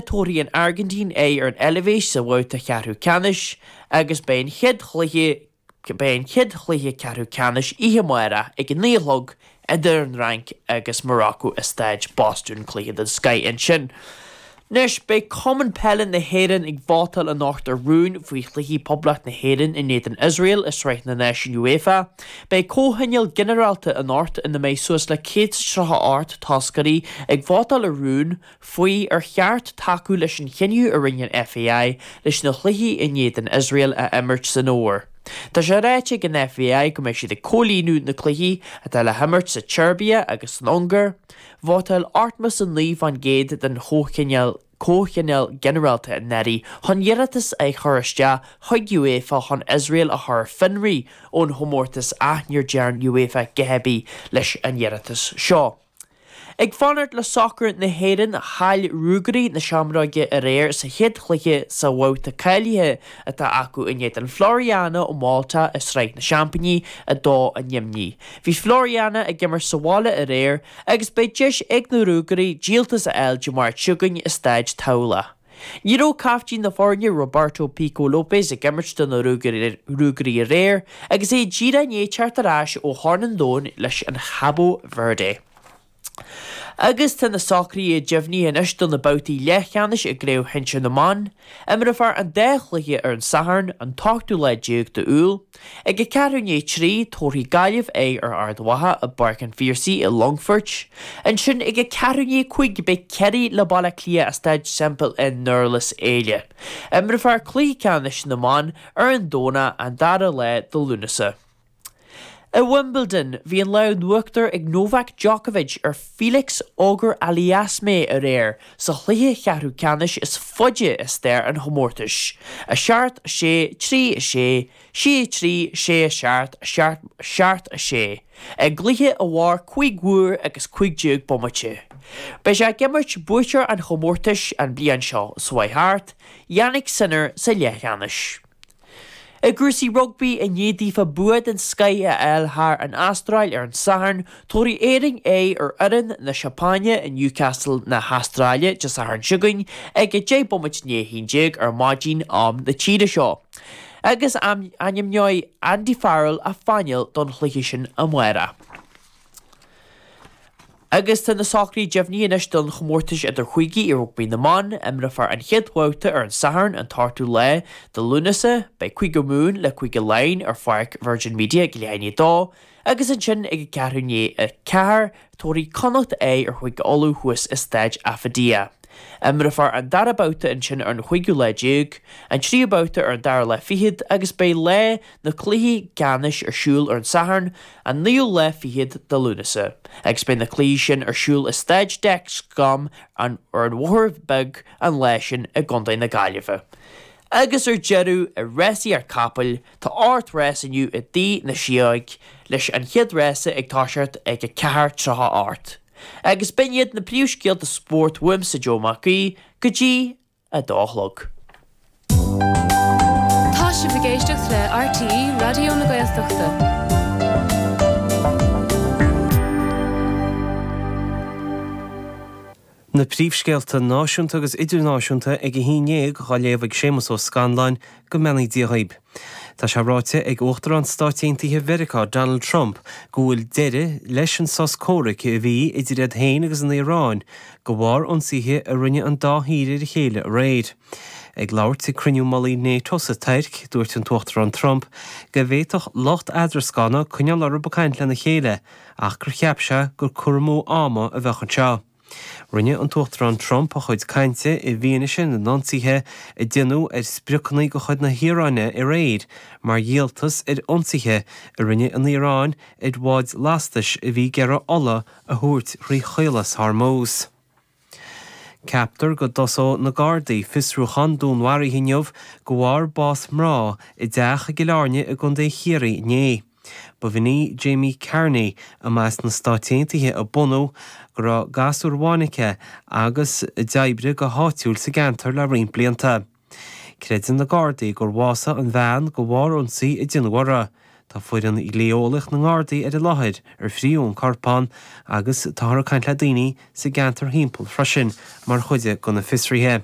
Tabharfaidh an Airgintín aghaidh ar an Eilvéis sa bhabhta ceathrú ceannais agus beidh an chéad chluiche beidh an chéad chluiche ceathrú ceannais oíche amárach ag 9 a chlog idir an Fhrainc agus Morocco i Staid Bostún, cluiche den scoith ansin. Anois, beidh Cumann Peile na hÉireann ag vótáil anocht ar rún faoi chluichí Poblacht na hÉireann in éadan Iosrael i Sraith na Náisiún UEFA. Beidh comhthionól ginearálta anocht ina mbeidh suas le 138 toscairí ag vótáil ar rún faoi ar cheart tacú leis an chinneadh a rinne an FAI leis na cluichí in éadan Iosrael a imirt san fhómhar. Tá sé ráite ag an FAI go mbeidh siad ag comhlíonadh na cluichí atá le himirt sa tSeirbia agus san Ungáir. Vótáil 89% den chomhthionól Comhthionól Ginearálta anuraidh chun iarratas a chur isteach chuig UEFA chun Iosrael a chur ar fionraí ón chomórtas ach níor dearn UEFA a dhath ar bith leis an iarratas seo. Ag fanacht le sacar na hÉireann, chaill Ruagairí na Seamróige aréir sa chéad chluiche sa bhabhta cáilithe atá acu in éadan Floriana ó Mhálta i Sraith na Seaimpíní 2 i nDoimní. Bhí Floriana ag imirt sa bhaile aréir agus beidh deis ag na Ruagairí díoltas a fháil Dé Máirt seo chugainn i Staid Tamhlacht. Ní raibh caiftín na foirne Roberto Pico Lopes ag imirt do na Ruagairí aréir agus é díreach i ndiaidh teacht ar ais ó Chorn an Domhain leis an Chabo Verde. Agus tá na socruithe deimhnithe anois do na babhtaí leathcheannais i gCraobh Shinsir na mBan. Imreofar an dá chluiche ar an Satharn, an t-ochtú lá déag d'Iúil. Ag a ceathrú i ndiaidh a 3, tabharfaidh Gaillimh aghaidh ar Ard Mhacha i bPáirc an Phiarsaigh i Longfoirt. Ansin ag a ceathrú i ndiaidh 5 beidh Ciarraí le Baile Átha Cliath i Staid Semple i nDurlas Éile. Imreofar cluiche ceannais na mban ar an Domhnach an dara lá de Lúnasa. I Wimbledon, bhí an lámh in uachtar ag Novak Djokovic ar Felix Auger-Aliassime aréir sa chluiche cheathrú ceannais is faide i stair an chomórtais, 7, 6, 3, 6, 6, 3, 6, 7, 7, 7, 6, i gcluiche a mhair 5 uair agus 15 bomaite. Beidh sé ag imirt buaiteoir an chomórtais an bhliain seo chuaigh thart, Jannik Sinner sa leathcheannais. I gcúrsaí rugbaí, i ndiaidh daofa bua den scoith a fháil thar an Astráil ar an Satharn, tabharfaidh Éirinn aghaidh ar fhoireann na Seapáine i Newcastle na hAstráile Dé Sathairn seo chugainn ag 10 bomaite i ndiaidh 11 ar maidin, am na tíre seo. Agus ainmneoidh Andy Farrell a phainéal don chluiche sin amárach. Agus tá na socruithe deimhnithe anois don chomórtas idir-chúigí i rugbaí na mban. Imreofar an chéad bhabhta ar an Satharn, an t-ochtú lá de Lúnasa. Beidh Cúige Mumhan le Cúige Laighean ar pháirc Virgin Media ag leath i ndiaidh a dó, agus ansin ag a ceathrú i ndiaidh a ceathair, tabharfaidh Connacht aghaidh ar Chúige Uladh thuas i Staid Affidea. Imreofar an dara babhta ansin ar an chúigiú lá déag, an tríú babhta ar an dara lá fichead agus beidh lá na cluichí ceannais ar siúl ar an Satharn, an naoú lá fichead de Lúnasa, agus beidh na cluichí sin ar siúl i Staid Dexcom ar an Bhóthar Beag an lá sin i gContae na Gaillimhe. Agus ar deireadh, i rásaíocht capaill, tá 8 rás inniu i dTigh na Sióg, leis an chéad rása ag toiseacht ag 4:38. Agus b'in iad na príomhscéalta spóirt uaimse Joe Mac Aoidh, go dtí 2 a chlog. Tá sibh ag éisteacht le RTÉ Raidió na Gaeltachta. Na príomhscéalta náisiúnta agus idirnáisiúnta ag a haon dhéag á léamh ag Séamus Ó Scanláin, go mbeannaí Dia dhaoib. Tá sé ráite ag Uachtarán Stáit Aontaithe Mheiriceá Donald Trump go bhfuil deireadh leis an sos comhraic a bhí idir iad féin agus an Iaráin de bharr ionsaithe a rinne an dá thír ar a chéile aréir. Ag labhairt ag cruinniú mullaigh Nato sa Tuirc, dúirt an tUachtarán Trump go bhféadfadh lucht eadrascána coinneáil orthu ag caint lena chéile ach gur cheap sé gur cur amú ama a bheadh anseo. Rinne an tUachtarán Trump a chuid cainte i bhfianaise na n-ionsaithe a déanadh ar spriocanna de chuid na hIaráine aréir mar dhíoltas ar ionsaithe a rinne an Iaráin ar bháid lastais a bhí ag iarraidh ola a thabhairt thrí Chaolas Hormuz. Ceaptar go dtosóidh na Gardaí fiosrúchán dúnmharaithe inniu de bharr bás mná i dteach i gCill Airne i gContae Chiarraí inné. B'in í Jamie Carney, a mba as na Stáit Aontaithe a bunadh, go raibh gasúr amháin aici agus a d'oibrigh go háitiúil sa gceantar le roinnt blianta. Creideann na Gardaí gur bhásaigh an bhean de bharr ionsaí a déanadh uirthi. Tá foireann dhlí-eolaíoch na nGardaí ar an láthair ar fríodh an corpán agus táthar ag caint le daoine sa gceantar thimpeall freisin mar chuid de na fiosruithe.